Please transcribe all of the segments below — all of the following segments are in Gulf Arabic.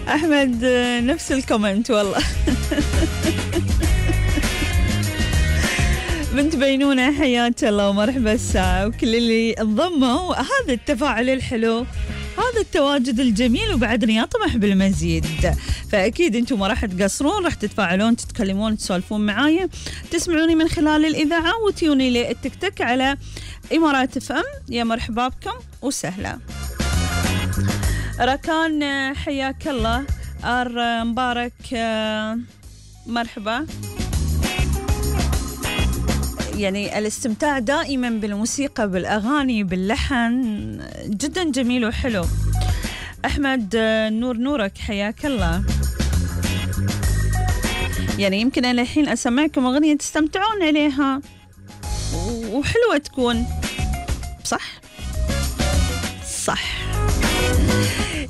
أحمد نفس الكومنت والله. بنت بينونة حياك الله ومرحبا الساعة وكل اللي انضموا. هذا التفاعل الحلو، هذا التواجد الجميل، وبعدني أطمح بالمزيد. فأكيد أنتم ما راح تقصرون، راح تتفاعلون، تتكلمون، تسولفون معايا، تسمعوني من خلال الإذاعة وتيوني لي التيك توك على إمارات FM. يا مرحبا بكم وسهلا. ركان حياك الله. مبارك مرحبا. يعني الاستمتاع دائما بالموسيقى، بالأغاني، باللحن جدا جميل وحلو. أحمد نورك حياك الله. يعني يمكن أنا الحين أسمعكم أغنية تستمتعون عليها وحلوة تكون، صح؟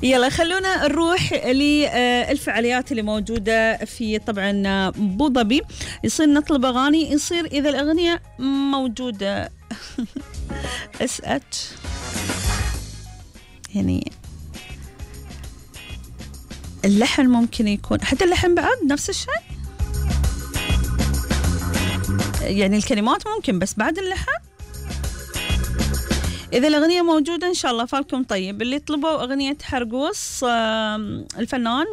يلا خلونا نروح للفعاليات اللي موجودة في طبعا أبو ظبي. يصير نطلب أغاني، يصير إذا الأغنية موجودة SH يعني اللحن ممكن يكون، حتى اللحن بعد نفس الشيء، يعني الكلمات ممكن بس بعد اللحن. إذا الأغنية موجودة إن شاء الله فالكم طيب. اللي طلبوا أغنية حرقوس الفنان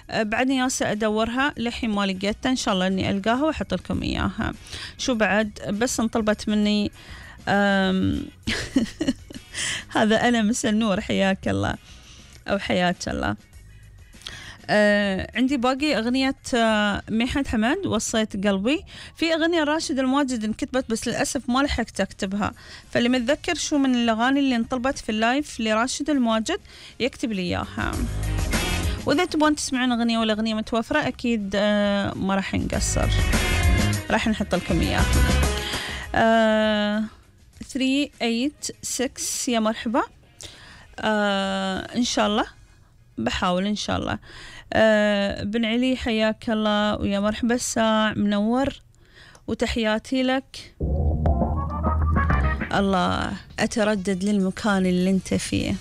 بعدني ياسا أدورها لحين ما لقيتها، إن شاء الله إني ألقاها وأحط لكم إياها. شو بعد بس انطلبت مني هذا أنا مثل نور حياك الله أو حياك الله. عندي باقي أغنية ميحد حمد وصيت قلبي. في أغنية راشد الماجد انكتبت بس للأسف ما لحقت أكتبها، فاللي متذكر شو من الأغاني اللي انطلبت في اللايف لراشد الماجد يكتب لي إياها. وإذا تبون تسمعون أغنية ولا أغنية متوفرة أكيد ما راح نقصر، راح نحط لكم إياها. 386 يا مرحبا. إن شاء الله بحاول إن شاء الله. بن علي حياك الله ويا مرحبا الساع منور وتحياتي لك. الله أتردد للمكان اللي انت فيه،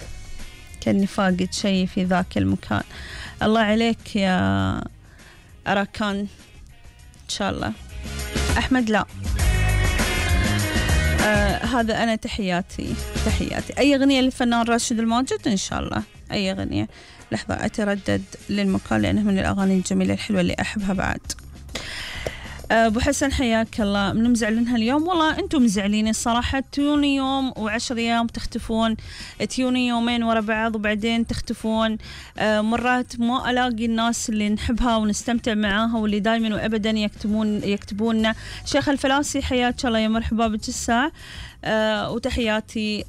كأني فاقد شيء في ذاك المكان. الله عليك يا أراكان إن شاء الله. أحمد لا هذا أنا تحياتي. أي أغنية للفنان راشد الماجد إن شاء الله، أي أغنية. لحظة أتردد للمكان لأنه من الأغاني الجميلة الحلوة اللي أحبها بعد. أبو حسن حياك الله. من مزعلينها اليوم؟ والله أنتم مزعلين الصراحة. تيوني يوم و10 أيام تختفون، تيوني يومين ورا بعض وبعدين تختفون. مرات ما ألاقي الناس اللي نحبها ونستمتع معاها واللي دايما وأبدا يكتبون. شيخ الفلاسي حياك الله يا مرحبا بك الساعة. وتحياتي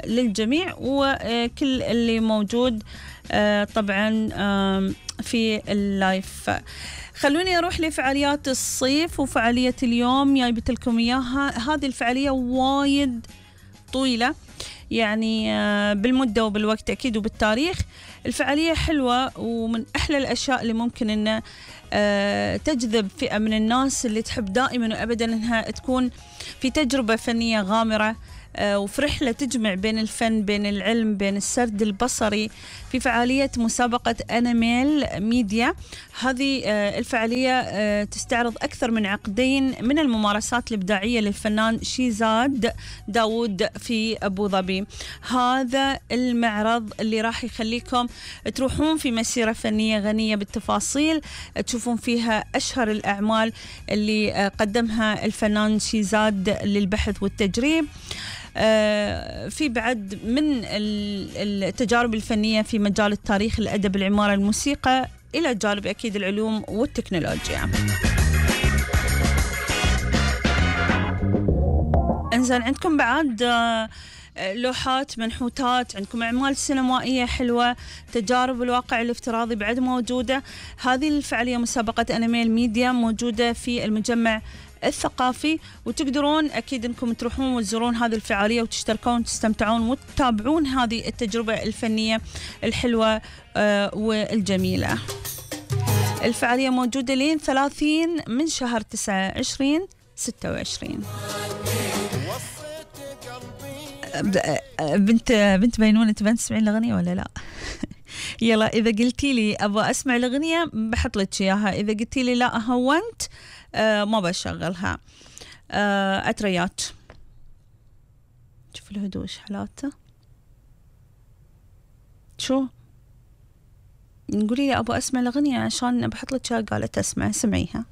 للجميع وكل اللي موجود طبعا في اللايف. خلوني أروح لفعاليات الصيف وفعالية اليوم جايبت لكم إياها. هذه الفعالية وايد طويلة يعني بالمدة وبالوقت أكيد وبالتاريخ. الفعالية حلوة ومن أحلى الأشياء اللي ممكن أن تجذب فئة من الناس اللي تحب دائما وأبدا أنها تكون في تجربة فنية غامرة وفي رحلة تجمع بين الفن، بين العلم، بين السرد البصري، في فعالية مسابقة أناميل ميديا. هذه الفعالية تستعرض أكثر من عقدين من الممارسات الإبداعية للفنان شيزاد داود في أبو ظبي. هذا المعرض اللي راح يخليكم تروحون في مسيرة فنية غنية بالتفاصيل، تشوفون فيها أشهر الأعمال اللي قدمها الفنان شيزاد للبحث والتجريب. في بعد من التجارب الفنية في مجال التاريخ، الأدب، العمارة، الموسيقى، إلى جانب أكيد العلوم والتكنولوجيا. إنزين عندكم بعد لوحات، منحوتات، عندكم أعمال سينمائية حلوة، تجارب الواقع الافتراضي بعد موجودة. هذه الفعالية مسابقة أناميل ميديا موجودة في المجمع الثقافي، وتقدرون أكيد أنكم تروحون وتزورون هذه الفعالية وتشتركون وتستمتعون وتتابعون هذه التجربة الفنية الحلوة والجميلة. الفعالية موجودة لين 30 من شهر 9 2026. بنت بينونة تبين تسمعين الأغنية ولا لا؟ يلا إذا قلتي لي أبغى أسمع الأغنية بحط لك إياها، إذا قلتي لي لا هونت ما بشغلها. أتريات، شوف الهدوء إيش حالاته. شو نقولي لي أبغى أسمع الأغنية عشان بحط لك إياها، قالت أسمع، سمعيها.